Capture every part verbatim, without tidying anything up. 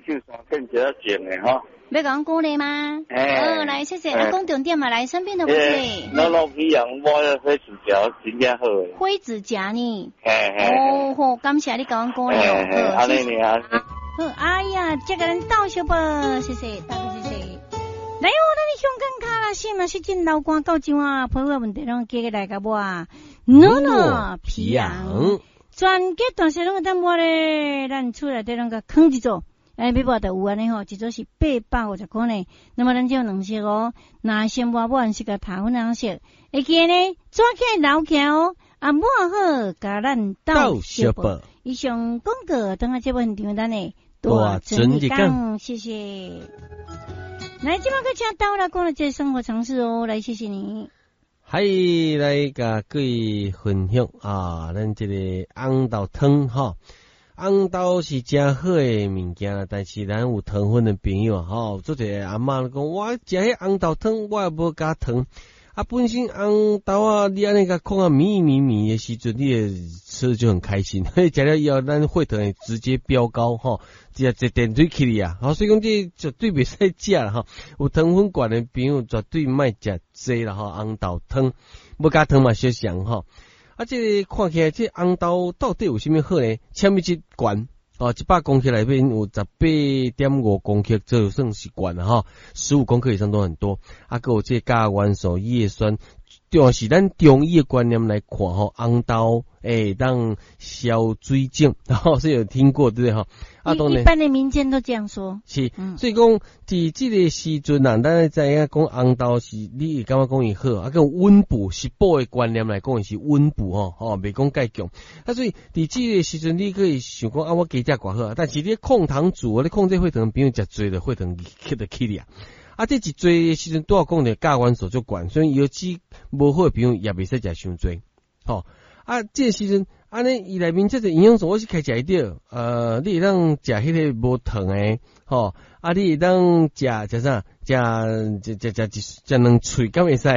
秀山变一下静的吼。欲共阮鼓勵嗎？欸哦，來，謝謝。啊，講重點嘛，來，生病的問題。老老皮樣，我火指甲真正好的。火指甲呢？嘿嘿。哦好，感謝你共阮鼓勵哦。好，謝謝。好，哎呀，這個人到小啵，謝謝，大哥謝謝。來哦，咱的香港卡啦，是嘛是真流汗到這啊，皮膚問題攏加來共我。努努皮樣，全家大細攏會當抹咧，咱厝內底攏共囥一組。哎，欲抹就有按呢吼，一組是八百五十箍呢。那麼咱這有兩色哦，藍色抹抹色佮頭粉紅色，會記得呢，抓起來留起來哦。啊，抹好，共咱鬥相報。以上廣告，等下節目現場咱的大尊日講，謝謝。來，這擺閣請豆來講的這個生活常識哦，來，謝謝你。嗨，來共各位分享啊，咱這個紅豆湯吼。紅豆是誠好的物件，但是咱有糖分的朋友吼，做一個阿嬤講，我食彼紅豆湯，我也無加糖。啊，本身紅豆啊，你按呢共焢啊綿綿綿的時陣，你會吃就很開心。食了以後，咱血糖會直接飆高吼，直接一電水起去啊。所以講這絕對袂使食啦吼。有糖分懸的朋友絕對莫食這啦吼，紅豆湯無加糖嘛相像吼。啊，這個看起來這紅豆到底有啥物好呢？纖維質懸哦，一百公克內面有十八點五公克，這就算是懸啦吼，十五公克以上都很多。啊，閣有這個鉀元素、葉酸，就是咱中醫的觀念來看吼，紅豆會當消水腫，吼，是有聽過對不對吼？啊，當然一般的民間都這樣說。是，所以講佇這個時陣啊，咱知影講紅豆是，你會感覺講伊好，啊，閣溫補是補的觀念來講，伊是溫補吼，吼，袂講蓋強。啊，所以佇這個時陣，你可以想講啊，我加食偌好，但是你控糖族，你控制血糖，朋友食濟就血糖起就起咧。啊，這一濟的時陣，拄仔講著鉀元素足懸，所以腰子無好的朋友也袂使食傷濟，吼。啊，這個時陣，按呢伊內面這個營養素，我是開食會著，呃，你會當食彼個無糖的，吼，啊，你會當食食啥？食食食食一食兩喙，敢會使？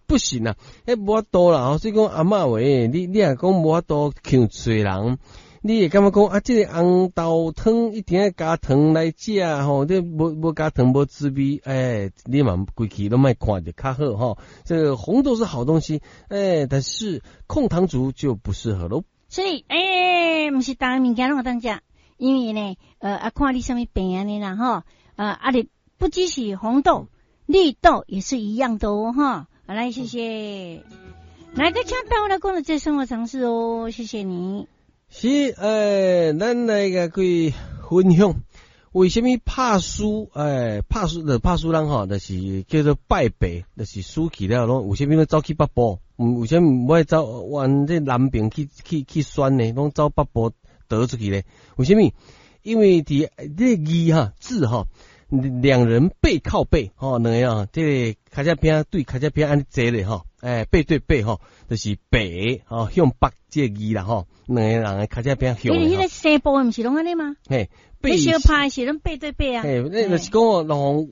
不行啊，彼無法度啦，吼，所以講阿嬤話，你你若講無法度劊喙人，你會感覺講啊，這個紅豆湯一定愛加糖來食吼，你無無加糖無滋味，欸，你嘛規氣攏莫看就較好吼。這個紅豆是好東西，欸，但是控糖族就不適合囉。所以，欸，毋是逐个物件攏會當食，因為呢，呃，啊，看你啥物病按呢啦，吼，呃，啊，你不只是紅豆、綠豆也是一樣的哦，哈。好，來，謝謝。來個請到來講的這生活常識哦，謝謝你。是，欸，咱來共各位分享，為啥物拍輸？欸，拍輸就拍輸人吼，就是叫做敗北，就是輸去了攏為啥物攏走去北部？為啥物無愛走往這南邊去去去選呢？攏走北部逃出去咧？為啥物？因為佇這個字哈字哈，兩人背靠背吼，兩個啊，這個跤脊餅對跤脊餅按呢坐咧吼，欸，背對背吼，就是北吼向北這個字啦吼，兩個人的跤脊餅向。因為彼個西部的毋是攏按呢嗎？嘿，你相拍是攏背對背啊？嘿，那就是講哦，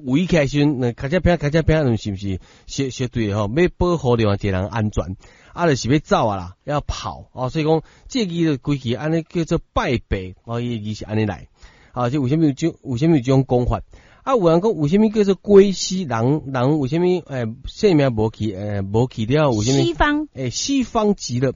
予予予圍起來時陣，跤脊餅跤脊餅，是毋是相相對吼？欲保護另外一個人安全，啊，就是欲走啊啦，要跑哦。所以講，這個字就規氣按呢叫做敗北哦，伊的字是按呢來。啊，這為啥物有這為啥物有這種講法？啊，有人講為啥物叫做歸西人？人為啥物欸性命無去？欸無去了？為啥物？西方欸西方極樂。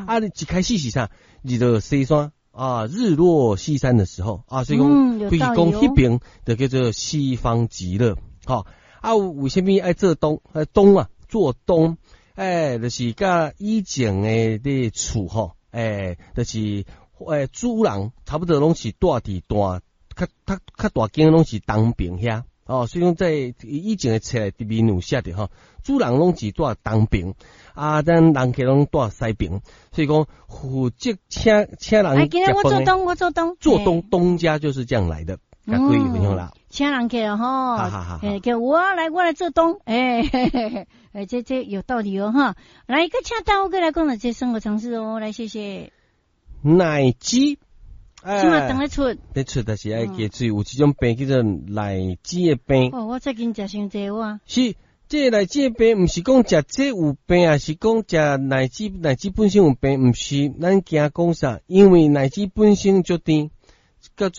啊，你一開始是啥？日落西山啊，日落西山的時候啊，所以講，規氣講彼邊就叫做西方極樂。吼，啊，為啥物愛做東？東啊，做東，欸，就是佮以前的這厝吼，欸，就是欸主人差不多攏是住佇大。較較較大間攏是東邊遐，哦，所以講在以前的冊內面有寫著吼，主人攏是住東邊，啊，咱人客攏住西邊，所以講負責請請人。哎，今日我做東，我做東。做東東家就是這樣來的，共各位分享啦。請人客吼，欸，叫我來，我來做東，欸，嘿嘿嘿，欸，這這有道理哦，哈。來，閣請大哥來講的這生活常識哦，來，謝謝。奶雞。這馬當咧出，咧出，但是愛加水。有這種病叫做奶雞的病。哦，我最近食傷濟我。是，這個奶雞的病，毋是講食這有病，抑是講食奶雞奶雞本身有病，毋是，咱驚講啥？因為奶雞本身足甜，佮